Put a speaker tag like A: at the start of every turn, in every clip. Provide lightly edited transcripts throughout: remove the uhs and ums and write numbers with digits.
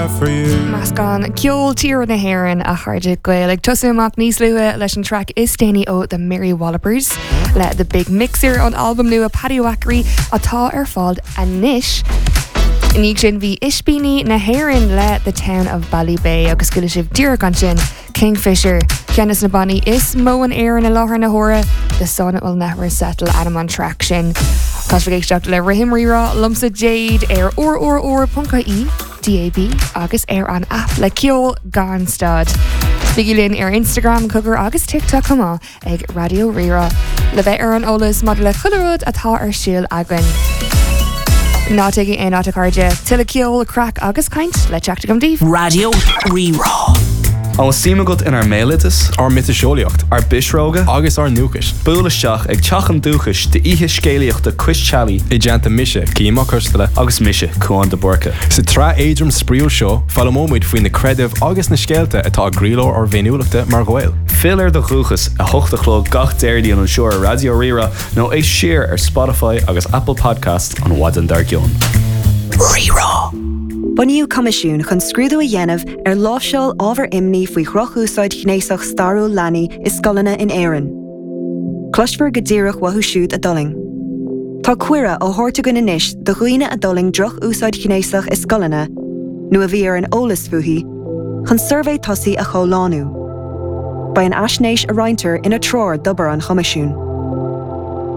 A: Meascán ceol tíre na hÉireann, a chairde Gael, ag tosú amach níos luaithe leis an traic is déanaí ó The Mary Wallopers le The Big Mixer ón albam nua Paddywhackery atá ar fáil anois. I ndiaidh sin bhí Ispíní na hÉireann le The Town of Ballybay agus chuala sibh díreach ansin Kingfisher, ceann de na bannaí is mó in Éirinn i láthair na huaire, The Sun Will Never Settle ainm an traic sin. Tá sibh ag éisteacht le Rithim Rírá liomsa Jade ar rrr.ie, DAB agus ar an aip le ceol gan stad. Bígí linn ar Instagram, cogar agus TikTok chomh maith. ag Raidió Rí-Rá le bheith ar an eolas maidir le chuile rud atá ar siúl againn. Ná téigí aon áit a chairde, tuilleadh ceol, craic agus caint le teacht agam daoibh.
B: Raidió Rí-Rá.
C: An bhfuil suim agat inár mbéaloideas?
D: Ár miotaseolaíocht?
C: Ár bpisreoga?
D: Agus ár ndúchais?
C: Buail isteach ag Teach an Dúchais d'oíche scéalaíochta Cois Teallaigh.
D: I dteannta mise, Cian Mac Coisteala.
C: Agus mise, Cuán de Búrca.
D: Sa tsraith éadrom spraíúil seo, foghlaimeoidh muid faoi na creidimh agus na scéalta atá i gcroílár ár bhféiniúlachta mar Ghaeil.
C: Fill ar do dhúchas, 8 a chlog gach Déardaoin anseo ar Raidió Rí-Rá nó éist siar ar Spotify agus Apple Podcasts an mhaidin dár gcionn.
B: Rí-Rá.
E: Bunaíodh coimisiún chun scrúdú a dhéanamh ar láimhseáil ábhar imní faoi dhroch-úsáid ghnéasach stairiúil leanaí i scoileanna in Éirinn. Cloisfear go díreach uathu siúd a d'fhulaing. Tá cuireadh á thabhairt againn anois do dhaoine a d'fhulaing droch-úsáid ghnéasach i scoileanna, nó a bhí ar an eolas fúithi, chun suirbhé tosaigh a chomhlánú. Beidh an fhaisnéis a roinntear ina treoir d'obair an Choimisiúin.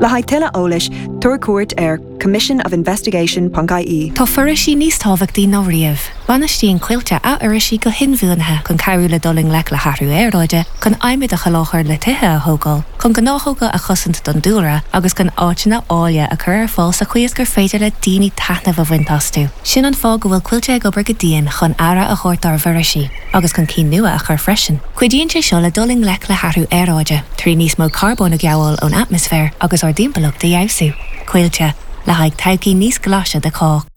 E: Le haghaidh tuilleadh eolais, tabhair cuairt ar commissionofinvestigation.ie.
F: Tá foraoisí níos tábhachtaí ná riamh. Bainistíonn Coillte athfhoraoisiú go hinbhuanaithe chun cabhrú le dul i ngleic le hathrú aeráide, chun adhmad a sholáthar le tithe a thógáil, chun gnáthóga a chosaint don dúlra agus chun áiteanna áille a chur ar fáil sa chaoi is gur féidir le daoine taitneamh a bhaint astu. Sin an fáth go bhfuil Coillte ag obair go dian chun aire a thabhairt dár bhforaoisí, agus chun cinn nua a chur freisin. Cuidíonn sé seo le dul i ngleic le hathrú aeráide, trí níos mó carbóin a ghabháil ón atmaisféar agus ár dtimpeallacht a fheabhsú. Coillte, le haghaidh todhchaí níos glaise do chách.